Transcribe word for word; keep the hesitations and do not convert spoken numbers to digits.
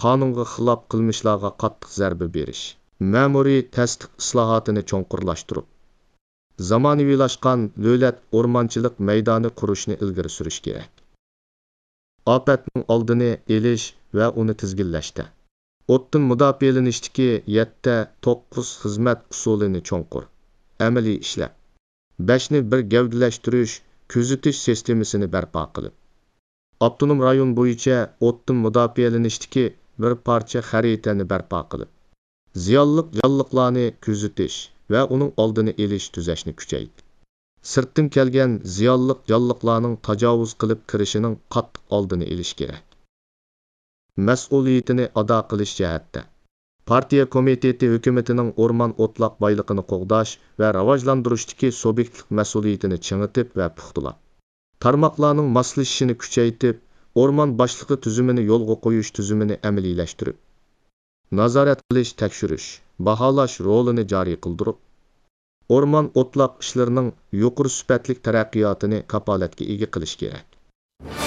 قانۇنغا خىلاپ قىلمىشلارغا قاتتىق زەربە بېرىش، مەمۇرىي تەستىق ئىسلاھاتىنى چوڭقۇرلاشتۇرۇپ، زامانىۋىلاشقان دۆلەت ئورمانچىلىق مەيدانى قۇرۇشنى ئىلگىرى سۈرۈش كېرەك. ئاپەتنىڭ ئالدىنى ئېلىش ۋە ئۇنى تىزگىنلەشتە، ئوتتىن مۇداپىئەلىنىشتىكى يەتتە توققۇز خىزمەت ئۇسۇلىنى چوڭقۇر، ئەمەلىي ئىشلەپ، بەشنى بىر گەۋدىلەشتۈرۈش، كۆزىتىش سىستېمىسىنى بەرپا قىلىپ، ئاپتونوم رايون بويىچە ئوتتىن مۇداپىئەلىنىشتىكى بىر پارچە خەرىتەنى بەرپا قىلىپ، زىيانلىق جانلىقلارنى كۆزىتىش ۋە ئۇنىڭ ئالدىنى ئېلىش تۈزەشنى كۈچەيتىپ، سىرتتىن كەلگەن زىيانلىق جانلىقلارنىڭ تاجاۋۇز قىلىپ كىرىشىنىڭ قاتتىق ئالدىنى ئېلىش كېرەك. مەسئۇلىيىتىنى ئادا قىلىش جەھەتتە، پارتىيە كومىتېتى ھۆكۈمىتىنىڭ ئورمان ئوتلاق بايلىقىنى قوغداش ۋە راۋاجلاندۇرۇشتىكى سۇبيېكتلىق مەسئۇلىيىتىنى چىڭىتىپ ۋە پۇختىلاپ، تارماقلارنىڭ ماسلىشىشىنى كۈچەيتىپ، ئورمان باشلىقى تۈزۈمىنى يولغا قويۇش تۈزۈمىنى ئەمەلىيلەشتۈرۈپ، نازارەت قىلىش، تەكشۈرۈش، باھالاش رولىنى جارى قىلدۇرۇپ، ئورمان ئوتلاق ئىشلىرىنىڭ يۇقىرى سۈپەتلىك تەرەققىياتىنى كاپالەتكە ئىگە قىلىش كېرەك.